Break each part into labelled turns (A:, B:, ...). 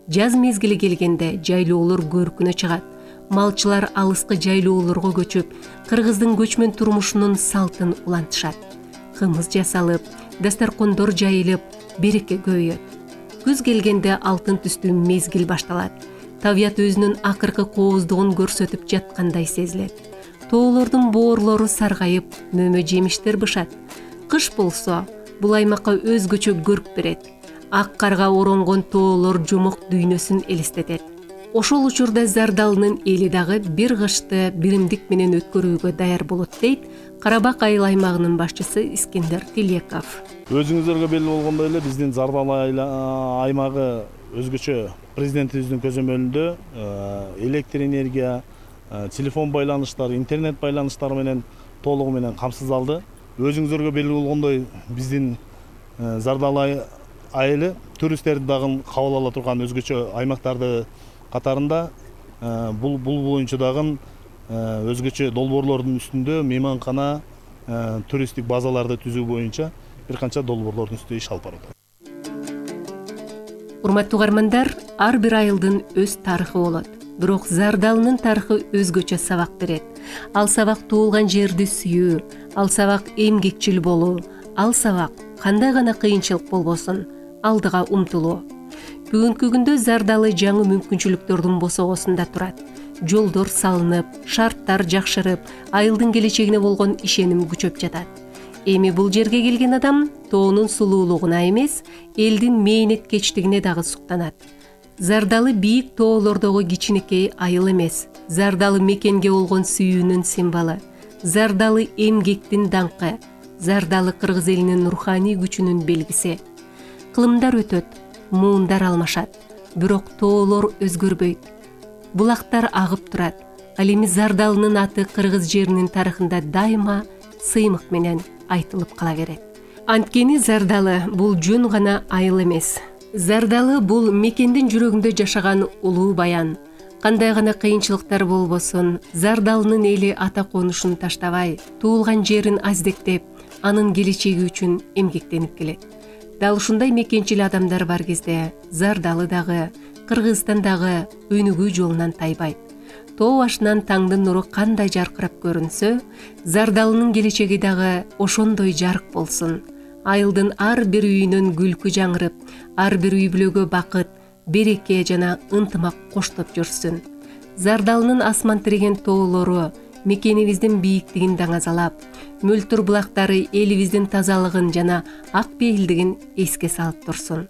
A: Жаз мезгили келгенде жайлоолор көркүнө чыгат. Малчылар алыскы жайлоолорго көчүп, кыргыздын көчмөн турмушунун салтын улантышат. Кымыз жасалып, дасторкондор жайылып, береке көбөйөт. Күз келгенде алтын түстүү мезгил башталат. Табият өзүнүн акыркы кооздугун көрсөтүп жаткандай сезилет. Тоолордун боорлору саргайып, мөмө жемиштер бышат. Кыш болсо, бул аймакка өзгөчө көрк берет. Ак карга оронгон тоолор жомок дүйнөсүн элестетет. Ошол учурда Зардалынын эли дагы бир кышты биримдик менен өткөрүүгө даяр болот дейт Карабак айыл аймагынын башчысы Искендер Тилеков.
B: Өзүңүздөргө белгилүү болгондой эле биздин Зардалы аймагы өзгөчө президентибиздин көзөмөлүндө электр энергия, телефон байланыштары, интернет байланыштары менен толугу менен камсыздалды. Өзүңүздөргө белгилүү болгондой биздин Зардалы айылы туристтерди дагы кабыл ала турган өзгөчө аймактарды катарында бул боюнча дагы өзгөчө долбоорлордун үстүндө мейманкана, туристтик базаларды түзүү боюнча бир канча долбоорлордун үстүндө иш алып барат.
A: Урматтуу угармандар, ар бир айылдын өз тарыхы болот. Бирок Зардалынын тарыхы өзгөчө сабак берет. Ал сабак туулган жерди сүйүү, ал сабак эмгекчил болуу, ал сабак кандай гана кыйынчылык болбосун, алдыга умтулуу. Бүгүнкү күндө Зардалы жаңы мүмкүнчүлүктөрдүн босогосунда турат. Жолдор салынып, шарттар жакшырып, айылдын келечегине болгон ишеним күчөп жатат. Эми бул жерге келген адам тоонун сулуулугуна эмес, элдин мээнеткечтигине дагы суктанат. Зардалы бийик тоолордогу кичинекей айыл эмес, Зардалы мекенге болгон сүйүүнүн символу, Зардалы эмгектин даңкы, Зардалы кыргыз элинин руханий күчүнүн белгиси. Кылымдар өтөт, муундар алмашат, бирок тоолор өзгөрбөйт. Булактар агып турат. Ал эми Зардалынын аты кыргыз жеринин тарыхында дайыма сыймык менен айтылып кала берет. Анткени Зардалы бул жөн гана айыл эмес. Зардалы бул мекендин жүрөгүндө жашаган улуу баян. Кандай гана кыйынчылыктар болбосун, Зардалынын эли ата конушун таштабай, туулган жерин аздектеп, анын келечеги үчүн эмгектенип келет. Дал ушундай мекенчил адамдар бар кезде Зардалы дагы, Кыргызстан дагы өнүгүү жолунан тайбайт. Тоо башынан таңдын нуру кандай жаркырап көрүнсө, Зардалынын келечеги дагы ошондой жарык болсун. Айылдын ар бир үйүнөн күлкү жаңырып, ар бир үй бүлөгө бакыт, береке жана ынтымак коштоп жүрсүн. Зардалынын асман тиреген тоолору мекенибиздин бийиктигин даңазалап, мөлтүр булактары элибиздин тазалыгын жана ак пейилдигин эске салып турсун.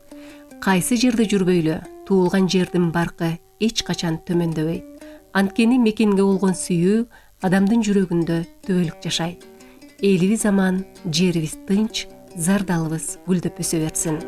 A: Кайсы жерде жүрбөйлү, туулган жердин баркы эч качан төмөндөбөйт. Анткени мекенге болгон сүйүү адамдын жүрөгүндө түбөлүк жашайт. Элибиз аман, жерибиз тынч, Зардалыбыз гүлдөп өсө берсин.